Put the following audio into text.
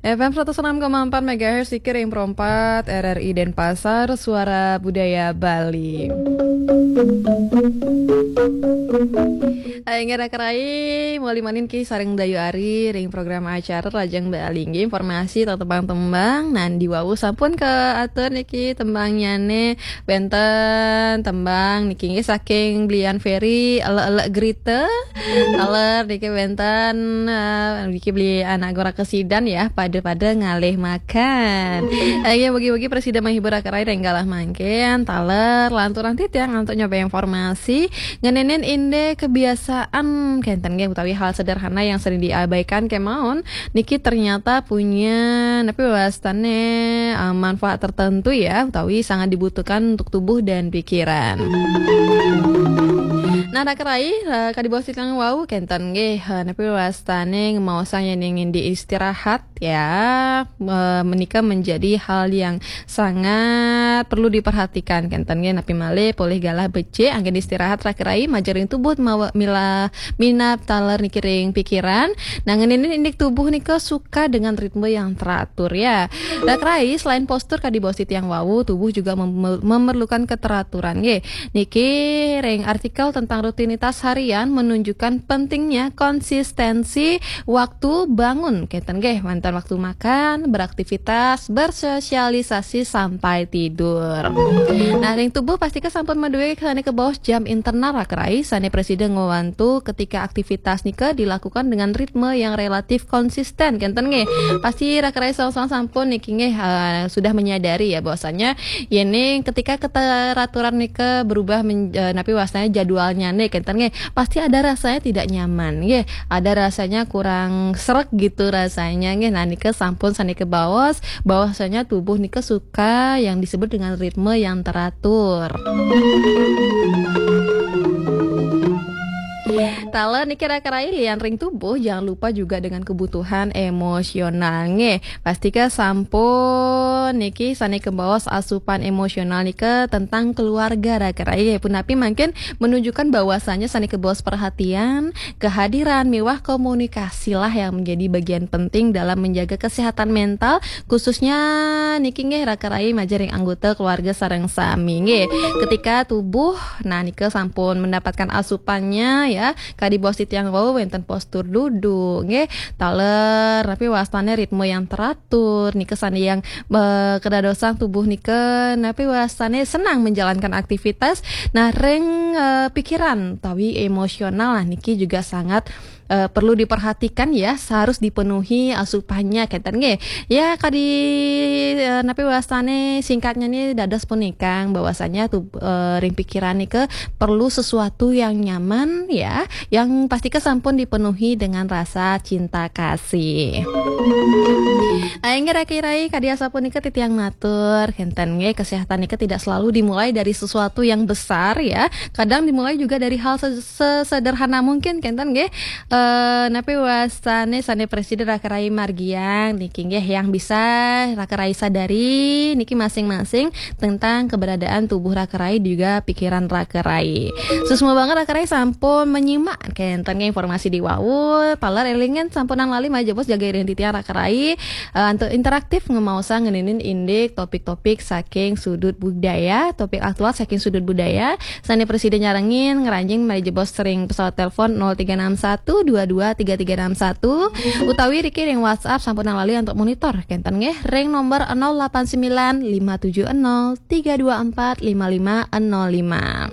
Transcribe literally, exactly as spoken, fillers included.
F M seratus enam koma empat megahertz, Sikir yang perempat, R R I Denpasar, Suara Budaya Bali. Aing raka rai, mau limanin ki sareng Dayu Ari, ring program acara Rajang Bali. Nggih, informasi tentang tembang-tembang, nan di wau sampun ke atur niki tembangnyane, benten tembang niki nggih saking Blian Ferry, Elek-elek Gerita. Taler niki benten, eh, niki beli anak gora kesidan ya, pada-pada ngalih makan. Eh, ya, bagi-bagi presiden menghibur raka rai ring galah mangkin, taler lanturan titiang untuk nyoba informasi, ngeninin inde kebiasaan, kenten nggih, utawi hal sederhana yang sering diabaikan kemaon, niki ternyata punya, tapi wastane, eh, manfaat tertentu ya, utawi sangat dibutuhkan untuk tubuh dan pikiran. Nah, raka rai, eh, kadi bos titiang wau kenten nggih, eh, napi wastane ngemaosang yen ingin diistirahat ya, eh, menika menjadi hal yang sangat perlu diperhatikan kenten nggih, napi malih polih galah becik anggen istirahat raka rai, majeng ring tubuh mawa mila minab taler niki ring pikiran. Nah, ngeninin indik tubuh nika suka dengan ritme yang teratur ya. Raka rai, selain postur kadi bos titiang wau, tubuh juga mem- memerlukan keteraturan nggih. Niki ring artikel tentang rutinitas harian menunjukkan pentingnya konsistensi waktu bangun, kenten nggih, wenten waktu makan, beraktivitas, bersosialisasi sampai tidur. Nah, ring tubuh pastika sampun maduwe sane kabaos jam internal raka rai, sane presiden ngwantu ketika aktivitas nika dilakukan dengan ritme yang relatif konsisten, kenten nggih. Pasti raka rai sawang-sawang sampun niki nggih, eh, sudah menyadari ya bahwasanya yen ketika keteraturan nika berubah men- eh, napi wastane jadwalnyane kenten nggih, pasti ada rasanya tidak nyaman nggih, ada rasanya kurang sreg gitu rasanya nggih. Nah, nika sampun sane kabaos bahwasanya tubuh nika suka yang disebut dengan ritme yang teratur. Taler niki raka rai, lian ring tubuh, jangan lupa juga dengan kebutuhan emosional nggih. Pastika sampun niki sane kabaos asupan emosional nika tentang keluarga raka rai. Punapi mangkin menunjukkan bahwasanya sane kabaos perhatian, kehadiran, miwah komunikasilah yang menjadi bagian penting dalam menjaga kesehatan mental, khususnya niki nggih raka rai majeng ring anggota keluarga sareng sami nggih. Ketika tubuh, nah, nika sampun mendapatkan asupannya ya, kadi bos titiang wau wenten postur duduk nggih, taler napi wastane ritme yang teratur nika sane yang, eh, kedadosan tubuh nika napi wastane senang menjalankan aktivitas. Nah, ring, eh, pikiran tawi emosional lah niki juga sangat, eh, perlu diperhatikan ya, harus dipenuhi asupannya kenten nggih. Ya, kadi, eh, napi wastane singkatnya nih dados punika bahwasanya tuh, eh, ring pikiran nika perlu sesuatu yang nyaman ya, yang pastika sampun dipenuhi dengan rasa cinta kasih. Aing raka rai, kadi asapunika titiang matur, kenten nggih, kesehatan nika tidak selalu dimulai dari sesuatu yang besar ya. Kadang dimulai juga dari hal se- sesederhana mungkin kenten nggih. Eh, napi wastane sane presiden raka rai margiang niki nggih, yang bisa raka rai sadari niki masing-masing tentang keberadaan tubuh raka rai juga pikiran raka rai. Susma banget raka rai sampun menyimak kenten nggih informasi di wau. Taler elingan sampunang lali malih jebos jaga identitas raka rai. Eh, untuk interaktif ngemaosang ngeninin indik topik-topik saking sudut budaya, topik aktual saking sudut budaya. Sane presiden nyarengin ngranjing malih jebos ring pesawat telepon nol tiga enam satu dua dua tiga tiga enam satu, utawi riki ring WhatsApp sampunang lali untuk monitor kenten nggih ring nomor nol delapan sembilan lima tujuh nol tiga dua empat lima lima nol lima.